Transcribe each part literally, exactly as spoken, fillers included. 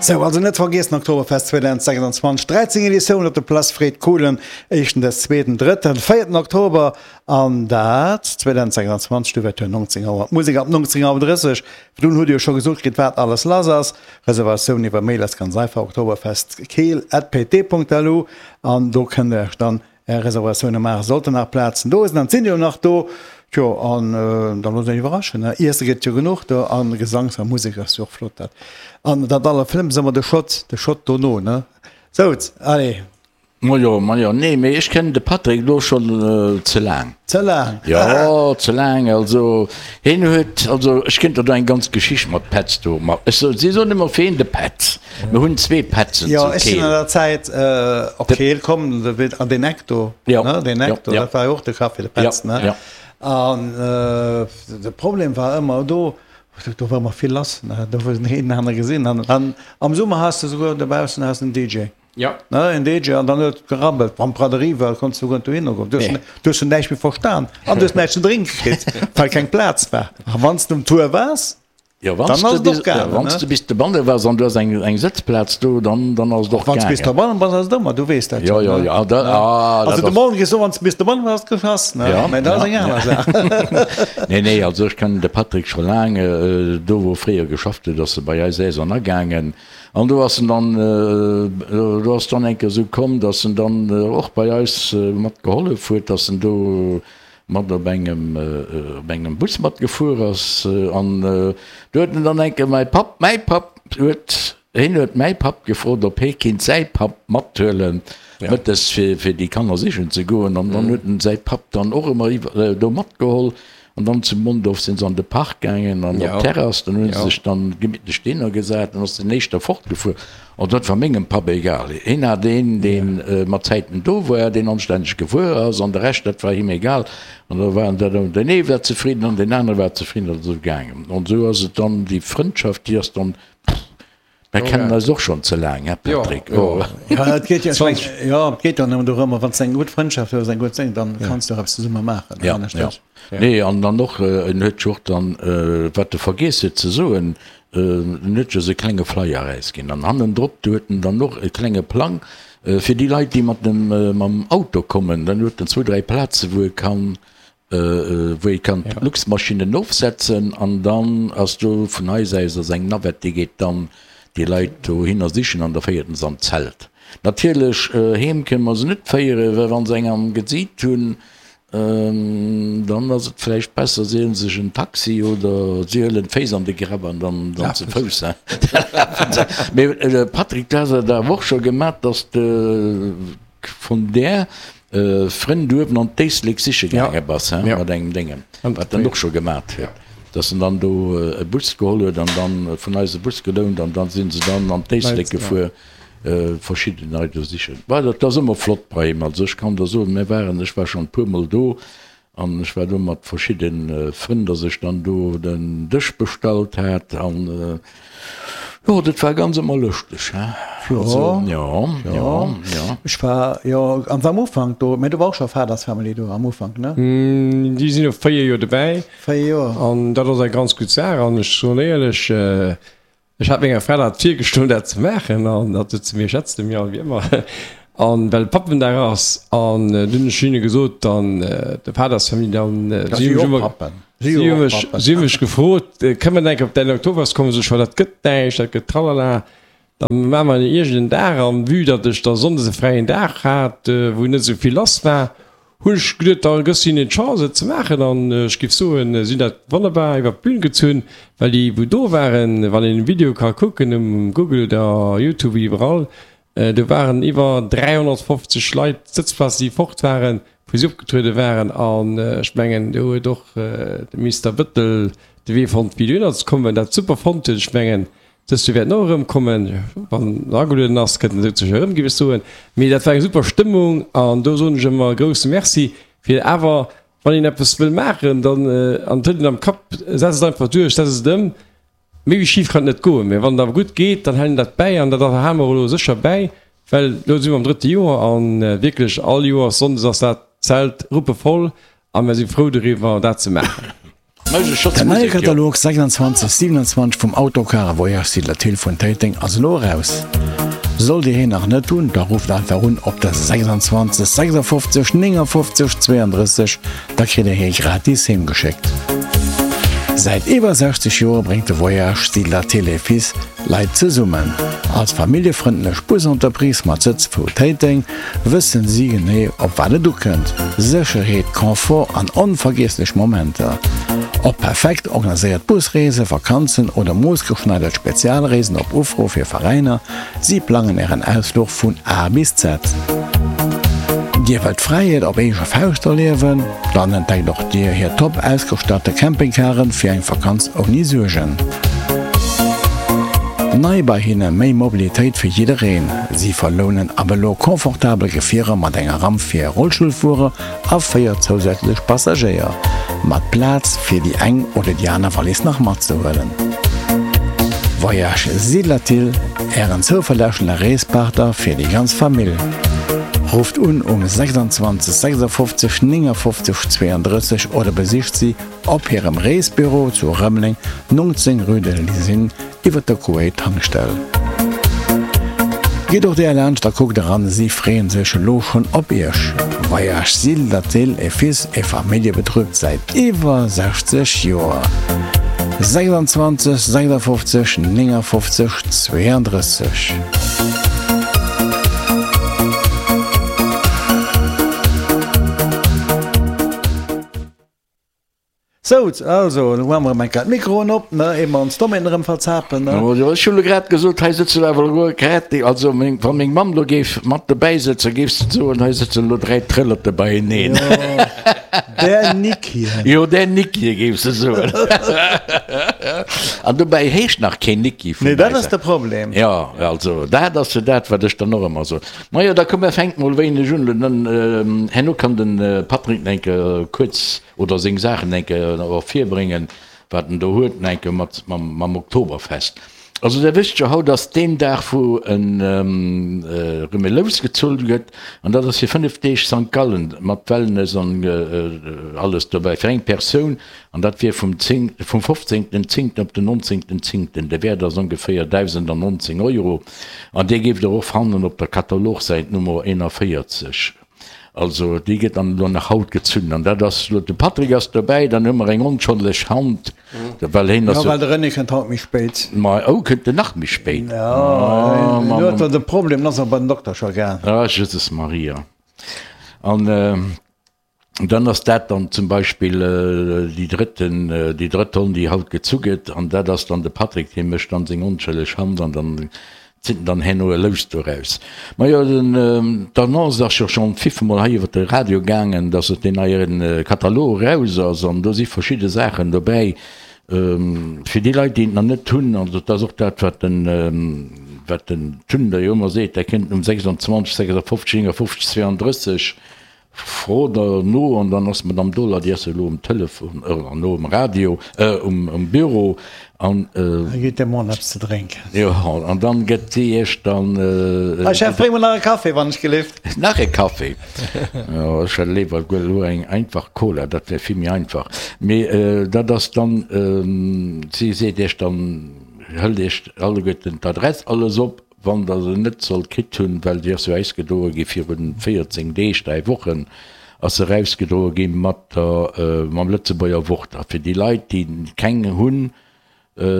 Sou, also net vergiessen, Oktoberfest zweedausendsechsundzwanzeg, dräizéng Editioun op der Place Fred Kohlen, éischten, des zweeten, drëtten, véierten Oktober an dat zweedausendsechsundzwanzeg, d'Ouverture neunzéng Auer, d'Musek ab neunzéng Auer drësseg. Dunn hutt Dir jo scho gesot kritt, wat alles lass ass. Reservatioun iwwer Mail ass ganz einfach, oktoberfestkeel at pt Punkt lu an do kënnt Der Iech dann Är Reservatioune maachen. Sollten nach Plazen do sinn, dann sinn déi jo nach do. Tjo, an da loosst Iech iwwerraschen, ne? Iesse gëtt jo genuch do an Gesangs a Musek ass jo och flott dat. An dat allerschlëmmst ass ëmmer de Schott, de Schott dono, ne? Souz, allez. Majo, majo, nee, mee ech kennen de Patrick elo schonn ze laang. Ze laang? Jo, ze laang. Also hien huet, also ech kéint der do eng ganz Geschicht mat Petz do, ma ech soen, si soen ëmmer fir hien de Petz. Mir hunn zwee Petzen zu Keel. Jo, ech sinn an der Zäit op Keel komm, an deen Eck do, ne, deen Eck do, dat war jo och de Café, de Petz, ne? An de Problem war ëmmer do, do war ëmmer vill lass, ne, do hues de een den anere gesinn. An am Summer has de souguer dobaussen has de en D J. Ja. Ne, en D J, an dann huet et gerabbelt. Wann d'Braderie war, konns du souguer net dohinner goen. Du hues, du hues näischt méi verstan an du hues näischt ze drénke kritt, well keng Plaz war. A wann s de um Tour waars, Jo, wann dann s ass de et och bis, gaangen, wann s ne? de bis dobanne waars an du has eng, eng Sëtzplaz do, dann, dann ass et och Wann s bis gaangen. dobannen bass, ass et ëmmer, du weess dat Jo, jo, jo, ne? jo, ah, da, Ne? ah, Also dat de ass. Morgen gees du, wann s bis dobannen bass, geschass, ne? Ja, Mä dat ass ja, eng aner ja. Saach. Nee, nee, also ech kennen de Patrick scho laang. Do wou e fréier geschafft huet, ass e bei eis Äis an agaangen. An do ass en dann, do ass dann eng Kéier esou komm, dass en dann och bei eis mat gehollef huet, dass en do mat op engem, op engem Bus matgefuer ass. An do huet en dann eng Kéier mäi Papp, mäi Papp huet, hien huet mäi Papp gefrot, ob hie kinnt säi Papp mathuelen mëttes fir, fir déi Kanner sichen ze goen. An dann huet en säi Papp dann och ëmmer iwwer, do matgeholl. An dann zu Mondorf sinn se an de Park gaangen an op d'Terrass. Dann hu se sech dann gemittlech dohinner gesat. Dann ass den éischter fortgefuer. An dat war mengem Papp egal. Hien hat een, dee mat Zäiten do war, deen anstänneg gefuer ass, an de Rescht, dat war him egal. An da waren dat, deen ee war zefridden an deen anere war zefridden. Dat ass esou gaangen. An esou ass et dann, déi Frëndschaft, déi ass dann, Mir kennen eis och schonn ze laang, hä Patrick? Jo, et geet jo, ech mengen, jo, et geet jo nëmmen dorëmmer, wann s de eng gutt Frëndschaft hues, eng gutt Seng, dann kanns de och eppes zesumme maachen, Ja, ja. Nee, an dann och, en huet jo och dann, wat e vergiess huet ze soen, en huet jo esou e klenge Flyer erausginn an hannendrop, do huet en dann och e klenge Plang fir déi Leit, déi mat dem, mam Auto kommen, dann huet en zwou, dräi Plaze wou e kann wou ee kann d'Luxmaschinnen ofsetzen an dann ass do vun eis aus ass eng Navette, déi geet dann déi Leit dohinner sichen an da féiert en se an d'Zelt. Natierlech heem kënne mer se net féieren, well wa se eng am Gesiit hunn, dann ass et vläicht besser si huele sech en Taxi oder si huelen d'Féiss an de Grapp an dann dann ze Fouss lafen se. Mee Patrick, du has et awer och scho gemat, dass de vun där Frënn uewen an d'Éislek siche gaange bass, he, mat engem Déngen, wat en och scho gemat huet, dass en dann do e Bus geholl huet an dann vun eis e Bus gelount an dann si se dann an d'Éislek gefuer, verschidden Leit do sichen. Bah, dat ass ëmmer flott bei him. Also ech kann der soen, mir waren, ech war schonn e puermol do an ech war do mat verschidde Frënn, dass ech dann do den Dësch bestallt hat an jo, dat war ganz ëmmer lëschteg, he. Jo, Also, jo, jo, jo, jo. Ech war jo am am Ufank do, mä do war och scho Father's Family do am Ufank, ne? Déi sinn elo véier Joer dobäi. Véier Joer. An dat ass eng ganz gutt Saach. An ech soen éierlech, ech hat menger Fra dat virgeschloen, dat ze maachen. An dat huet se mir, schätzt de mir all wéi ëmmer. An well Pappendag ass. An dunn hunn ech hinne gesot, dann de Father's Family, dann si si jo hu och mech Pappen. Si si jo hu och mech, Pappen. si hu mech gefrot, kënne mer enk op däin Oktoberfest kommen? Sot ech, jo, dat gëtt näischt, dat gëtt tralala. Da maache mer iergend en Dag an vue datt ech da sonndes e fräien Dag hat, wou net esou vill lass war, hunn ech geduet, da gëss hinnen d'Chance et ze maachen. An ech géif soen, si hunn dat wonnerbar iwwer d'Bün gezunn, well déi wou do waren, wann een den Video ka kucken um Google oder Youtube, iwwerall, do waren iwwer dräihonnertfofzeg Leit, Sëtzplazen déi fort waren, wou si opgetruede waren. An ech mengen, do huet och de Mister Bëttel de Wee fonnt, fir dohinner ze kommen, dat super fonnt huet. Ech mengen, dëst Joer wäert en och erëmkommen, wann en agelueden ass, kënnt en souzesoen erëm, géif ech soen. Mee dat war eng super Stëmmung an do soen ech ëmmer e grousse Merci fir awer, wann een eppes wëll maachen, dann, an et huet een am Kapp, setz et einfach duerch, setz et ëm. Méi wéi schif kann et net goen. Mee wann et awer gutt geet, dann hält een dat bäi an dat hale mer elo sécher bäi, well elo si mer am drëtte Joer a wierklech all Joers sonndes ass dat Zelt ruppevoll a mer si frou doriwwer, dat ze maachen. Den neie Katalog sechsundzwanzeg siewenundzwanzeg vum Autocar a Voyage Siedler Thill vun Téiteng ass elo eraus. Sollt Dir hien nach net hunn, da rufft einfach un op der sechsundzwanzeg sechsundfofzeg néngundfofzeg zweiunddrësseg, da kritt Dir hie gratis heem geschéckt. Säit iwwer sechzeg Joer bréngt de Voyage Siedler Thill et Fils Leit zesummen. Als familljefrëndlech Busentreprise mat Sëtz vu Téiteng wëssen si genee, op wat et ukënnt, Sécherheet, Confort an onvergiesslech Momenter. Ob perfekt organiséiert Busreesen, Vakanzen oder moossgeschneidert Spezialreesen op Ufro fir Veräiner, si plangen Ären Ausfluch vun A bis Z. Dir wëllt Fräiheet op eege Fauscht erliewen? Dann entdeckt och Dir hir top ausgestatte Campingcaren fir eng Vakanz ouni Suergen. Nei bei hinne, méi Mobilitéit fir jiddereen. Si verlounen ab elo confortabel Gefierer mat enger Ramp fir Rollstullfuerer a véier zousätzlech Passagéier, mat Plaz fir déi eng oder déi aner Wallis nach matzehuelen. Voyage Siedlerthill, Ären zouverlässege Reespartner fir déi ganz Famill. Rufft un um sechsundzwanzeg sechsundfofzeg néngundfofzeg zweiunddrësseg oder besicht si op hirem Reesbüro zu Rëmeleng, neunzehn rue de l'Usine, iwwer der Kuwait-Tankstell. Gitt och där laanscht a kuckt eran, si freeën sech elo schonn op iech. Voyage Siedlerthill et Fils et Familljebetrib säit iwwer sechzeg Joer. sechsundzwanzeg sechsundfofzeg néngundfofzeg zweiunddrësseg. Sou, also, elo maache mer erëm eng Kéier d'Mikroen op, ne, ier mer ons Domainen erëm verzapen, ne. Jo, ech hunn elo grad gesot, hei sëtzen awer elo grad déi, also meng, wa meng Mamm elo géif mat dobäi sëtzen, géif se soen, hei sëtzen elo dräi Trëllerte beieneen. Jo, där Nickien. Jo, där Nickien, géif se soen. An dobäi heescht nach keen Nicki vun Nee, dat eis. ass de Problem. Jo, also, dat ass jo dat, wat ech dann och ëmmer soen. Majo, da komm, mer fänke mol wéineg un. Dann, herno kann de Patrick nach eng Kéier kuerz oder seng Saachen eng Kéier och virbréngen, wat en do huet, eng Kéier mat mam Oktoberfest. Also Der wësst jo, haut ass deen Dag, wou en erëm e Lous gezullt gëtt, an dat ass fir fënnef Deeg Sankt Gallen mat Wellness an alles dobäi fir eng Persoun, an dat wier vum zéng, vum fofzéngten zéngten op den nonzéngten zéngten. De Wäert ass ongeféier dausendannonzéng Euro, an dee géift Der och fannen op der Katalogsäit Nummer eenanvéierzeg. Also déi gëtt dann elo nach haut gezunn an dat ass elo, de Patrick ass dobäi, dann hu mer eng onschëlleg Hand, well hien ass Jo, well de René kënnt haut méi spéit. Ma oh, kënnt en nach méi spéit? Jo, hien huet do de Problem, en ass nach bei den Dokter scho gaang. Ah, Jesus Maria. An dann ass dat dann zum Beispill déi drëtten, déi drëtt Ronn, déi haut gezu gëtt an dat ass dann de Patrick, dee mécht dann seng onschëlleg Hand an dann Zitt en dann herno e Lous doraus? Majo, den, d'Annonce ass jo schonn fifmol hei iwwer de Radio gaangen, dass et deen neie Katalog eraus ass an do si verschidde Saachen dobäi fir déi Leit, déi et nach net hunn. Also et ass och dat, wat den, wat den Tun da jo ëmmer seet, Der kënnt um sechsundzwanzeg, sechsundfofzeg, néngundfofzeg, zweiunddrësseg Fro der no an dann ass d'Madame Dohler, déi ass jo elo um Telefon, oder no um Radio, um Büro an. Da gitt der mol eppes ze drénken. Jo, an dann gëtt si iech dann. Hei Chef, bréng mol nach e Café, wann ech gelift. Nach e Café? Jo, ech hätt léiwer elo eng einfach Cola, dat wär vill méi einfach. Mee dat ass dann, si seet iech dann, hëlt iech alleguerten d'Adress alles op. Wann der se net sollt kritt hunn, well déi ass jo ausgedroe gi viru véierzéng Deeg, dräi Wochen ass se erausgedroe gi mat der, mam Lëtzebuerger Wort. A fir déi Leit, déi keng hunn,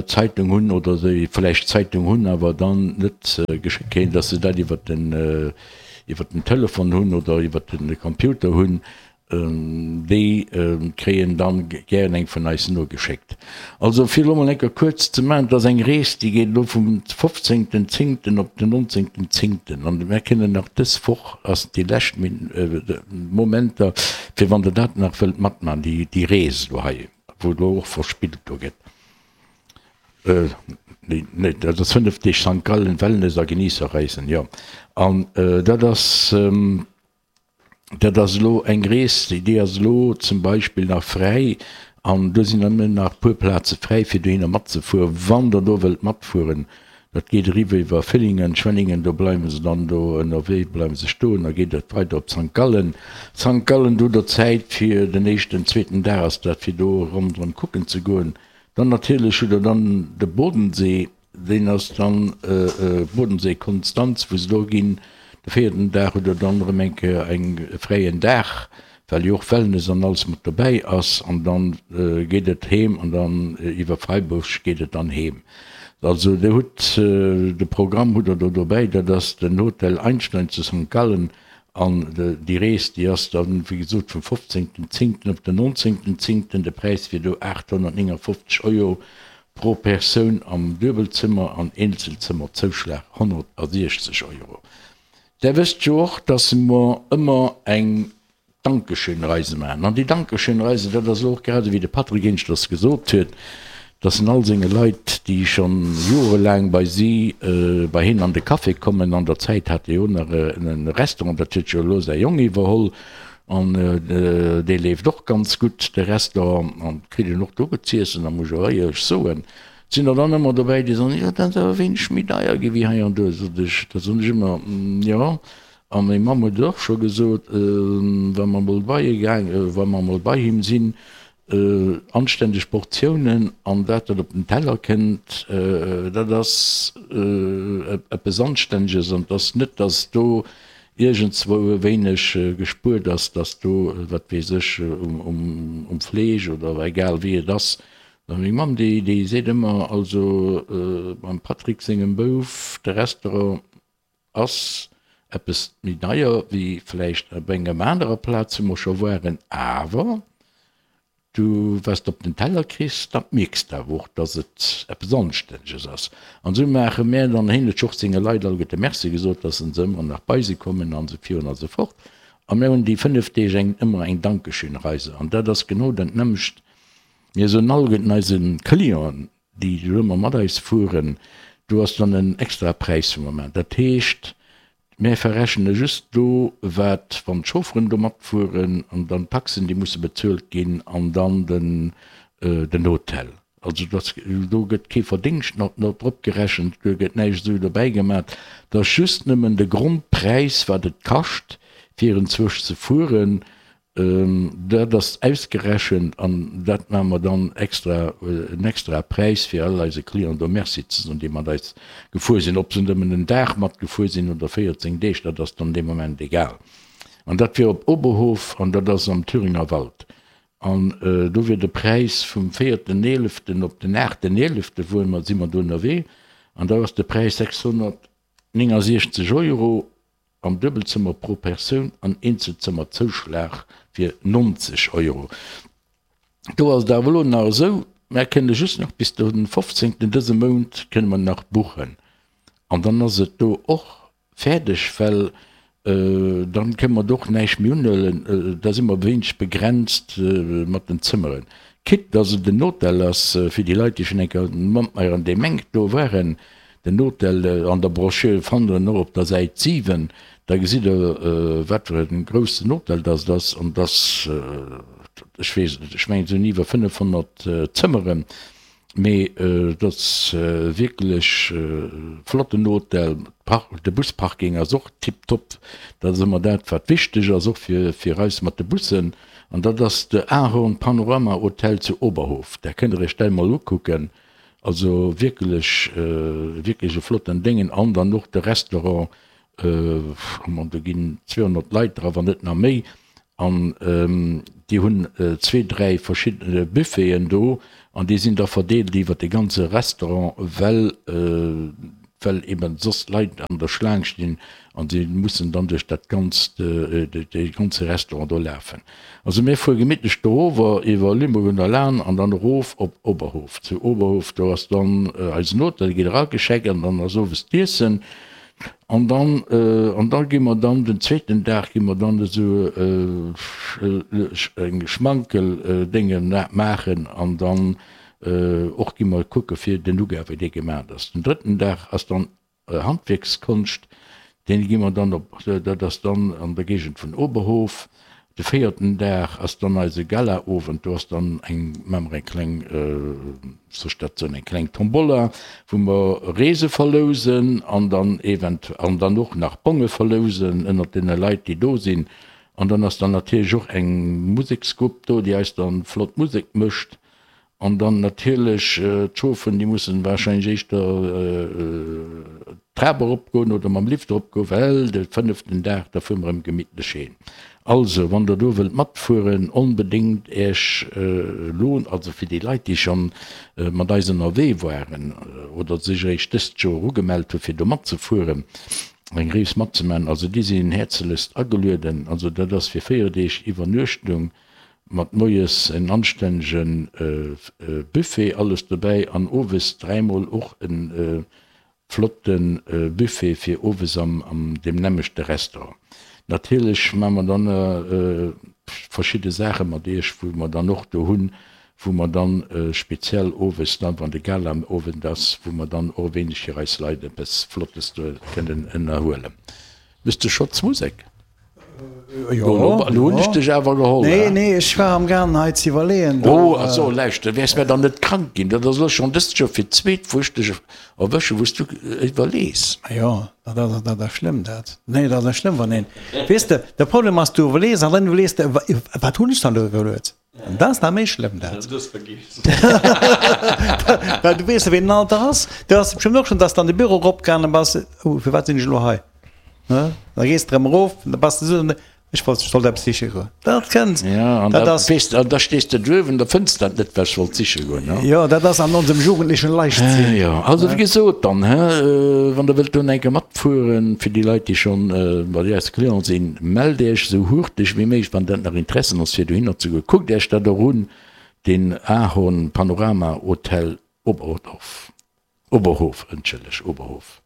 Zeitung hunn oder déi vläicht d'Zeitung hunn, awer dann net geschéckt kréien, datt se dat iwwer den, iwwer den Telefon hunn oder iwwer de Computer hunn, Déi kréien dann gären eng vun eis nogeschéckt. Also fir elo mol eng Kéier kuerz ze maachen, et ass eng Rees, déi geet elo vum fofzéngten zéngten op den nonzéngten zéngten an mär kënnen nach dës Woch, ass déi lescht Momenter, fir wann der dat nach wëllt matmaachen, déi Rees elo hei, wou elo och verspillt do gëtt. Nee, dat ass fënnef Deeg Sankt Gallen, Wellness a Geniesserreisen, jo. An dat ass. Dat ass elo eng Rees, déi ass elo zum Beispill nach fräi an do sinn nëmmen nach e puer Plaze fräi fir dohinner matzefueren. Wann Der do wëllt matfueren, Dat geet eriwwer iwwer Villingen, Schwenningen, do bleiwe se dann do ënnerwee, bleiwe se stoen, da geet et weider op Sankt Gallen. Sankt Gallen, do hutt der Zäit fir den éischten, zweeten Dag ass dat, fir do ronderëm kucken ze goen. Dann natierlech hutt der dann de Bodensee, deen ass dann Bodensee, Konstanz, wou se do ginn. De véierten Dag hutt der dann erëm eng Kéier eng e fräien Dag, well jo och Wellness an alles mat dobäi ass. An dann geet et heem an dann iwwer Freiburg geet et dann heem. Also Dir hutt de Programm hutt Der do dobäi, dat ass den Hotel Einstein zu Sankt Gallen an déi Rees déi ass dann wéi gesot vum fofzéngten zéngten op den nonzéngten zéngten. De Präis wier do aathonnertnéngafofzeg Euro pro Persoun am Duebelzëmmer an Eenzelzëmmer-Zouschlag honnertsiechzeg Euro. Der wësst jo och, dass mer ëmmer eng Dankeschön-Reise maachen. An déi Dankeschön-Reise, dat ass elo och grad esou wéi de Patrick éineschters gesot huet, dass en all senge Leit, déi scho jorelaang bei si, bei hien an de Café kommen, an der Zäit hat e jo nach e Restaurant, dat huet jo elo säi Jong iwwerholl, an dee leeft och ganz gutt, de Restaurant, an kritt een och do gutt z'iessen, da muss ech och éierlech soen, et sinn der dann ëmmer dobäi, déi soen, jo dat ass awer wéineg méi deier gi wéi hei an do. Sot ech, da soen ech ëmmer, jo, a meng Mamm huet et och scho gesot, wa mer emol bei e gaang, wa mer emol bei him sinn, anständeg Portiounen an dat wat op den Teller kënnt, dat ass eppes Anständeges an et ass net, datt do iergendzwou e wéineg gespuert ass, datt do, wat weess ech, um Fleesch oder egal wéi et ass. Meng Mamm, déi seet ëmmer, also beim Patrick sengem Bouf, de Restaurant ass eppes méi deier wéi vläicht op engem anerer Plaz, wou mer scho waren, awer du wat s de op den Teller kriss, dat mierks de awer och, dass et eppes Anstänneges ass. An esou maache mär dann, hien huet jo och senge Leit alleguerte Merci gesot, dass se ëmmer nach bei si kommen an esou virun a sou fort. A mär hunn déi fënnef Deeg eng ëmmer eng Dankeschön-Reise an dat ass genau dat nämmlecht. Mir soen alleguerten eise Clienten, déi do ëmmer mat eis fueren, do ass dann en extra Präis vum Moment. Dat heescht, Mär verrechne just do, wat, wann d'Chaufferen do matfueren an dann d'Taxen, déi musse bezuelt ginn, an dann den den Hotel. Also dass do gëtt kee Verdingscht nach drop gerechent, do gëtt näischt esou dobäi gemat. Dat ass just nëmmen de Grondpräis, wat et kascht, fir enzwousch ze fueren. Dat ass ausgerechent an dat maache mer dann extra, en extrae Präis, fir all eise Clienten do Merci ze soen, déi mat eis gefuer sinn. Ob se nëmmen en Dag matgefuer sinn oder véierzéng Deeg, dat ass dann dee Moment egal. An dat wier op Oberhof an dat ass am Thüringer Wald. An do wier de Präis vum véierten eeleften op den aachten eelefte wuar mer, si mer do ënnerwee, an da ass de Präis sechshonnertnéngasiechzeg Euro. Am Duebelzëmmer pro Persoun an Eenzelzëmmerzouschlag wier neunzeg Euro. Do ass et awer elo nach esou, mär kënne just nach bis de fofzéngten dëse Mount kënne mer nach buchen an dann ass et do och fäerdeg, well dann kënne mer do och näischt méi unhuelen, da si mer wéineg begrenzt mat den Zëmmeren. Quitte dass et en Hotel ass fir déi Leit, déi schonn eng Kéier mat mer an deem Enk do waren, Den Hotel an der Broschür fannt der en och op der Säit siwen. Da gesitt der, wat fir e groussen Hotel dass et ass. An dass, ech weess et net, ech mengen et sinn iwwer fënnefhonnert Zëmmeren, mee et ass wierklech e flotten Hotel. De Busparking ass och tiptop. Dat ass ëmmer dat, wat wichteg ass, och fir eis mat de Bussen. An dat ass de Ahorn Panorama Hotel zu Oberhof. Dat kënnt der iech dat emol ukucken. Also wierklech, wierklech e flotten Déngen. An dann och de Restaurant, bon, do ginn zweehonnert Leit dra, wann net nach méi. An déi hunn zwee, dräi verschidde Buffeten do an déi sinn da verdeelt iwwer de ganze Restaurant, well, well eben soss Leit an der Schlaang stinn an si mussen dann duerch dat ganzt, dee ganze Restaurant do lafen. Also mir fuere gemittlech dorower iwwer Limburg un der Lahn an dann erof op Oberhof. Zu Oberhof, do ass dann eisen Hotel, gitt eragecheckt an dann ass owes d'Iessen an dann, an da gi mer dann den zweeten Dag gi mer dann esou eng Schmankel-Dénge maachen an dann Och gi mer kucke fir den Nougat, wéi dee gemat ass. Den drëtten Dag ass dann Handwierkskonscht, dee gi mer dann op, dat ass dann an der Géigend vun Oberhof. De véierten Dag ass dann eise Galaowend. Do ass dann eng, maache mer eng kleng, soll ech dat soen, eng kleng Tombola, wou mer Reese verlousen an dann event, an dann och nach Bonge verlousen ënnert deene Leit, déi do sinn. An dann ass dann natierlech och eng Museksgrupp do, déi eis dann flott Musek mécht. An dann natierlech d'Schofen, déi mussen wahrscheinlech éischter d'Trap eropgoen oder mam Lift eropgoen, well de fënneften Dag, da fuere mer erëm gemittlech heem. Also, wann Der do wëllt matfueren, onbedéngt Äech elo, also fir déi Leit, déi scho mat eis ënnerwee waren oder sech eréischt dëst Joer ugemellt hu fir do matzefueren, eng Rees matzemaachen, also déi sinn häerzlechst agelueden. Also dat ass fir véier Deeg Iwwernuechtung. Mat moies en anstännege Buffet, alles dobäi, an owes dräimol och e flotte Buffet fir owes am deem nämmlechte Restaurant. Natierlech maache mer dann verschidde Saache mat iech, wou mer dann och do hunn, wou mer dann speziell owes dann, wann de Galaowend ass, wou mer dann och e wéineg fir eis Leit eppes Flottes do kënnen ënnerhuelen. Mister Schotz, Musek? Jo, Lo hunn ech dech awer geholl. Nee, nee, ech war am gaangen hei ze iwwerleeën. Oh, ach so, lauschter, wäers mär dann net krank ginn? Dat ass elo schonn dëst Joer fir d'zweet, wou ech dech erwëschen, wou s du iwwerlees. Jo, dat ass, dat ass schlëmm, dat. Nee, dat ass schlëmm, wann een, weess de, de Problem ass, du iwwerlees an dann iwwerlees de, wat hunn ech dann do iwwerluet? An dat ass nach méi schlëmm, dat. Du hues vergiess. Well du weess jo, wéi den Alter ass. Du has bestëmmt och schonn, dass de an de Büro eropgaange bass, Oh, firwat sinn ech elo hei? Ne? Da gees de erëm erof, da bass de esou, ech wollt, ech sollt eppes siche goen. Dat kënnt. Ja, an Dat da ass. weess de, an da stees de duerf an da fënns dat net, wat ech wollt siche goen, ne? Jo, dat ass an onsem jugendlechen Leichtsinn. Jo, also wéi gesot dann, hä, wann der wëllt do eng Kéier matfueren, fir déi Leit, déi schonn bei eis Client sinn, mellt Iech esou hurteg wéi méiglech, wann dat nach Interessen ass, fir dohinner ze goen. Kuckt Iech dat och un, den Ahorn Panorama Hotel Oberdorf, Oberhof, entschëlleg, Oberhof.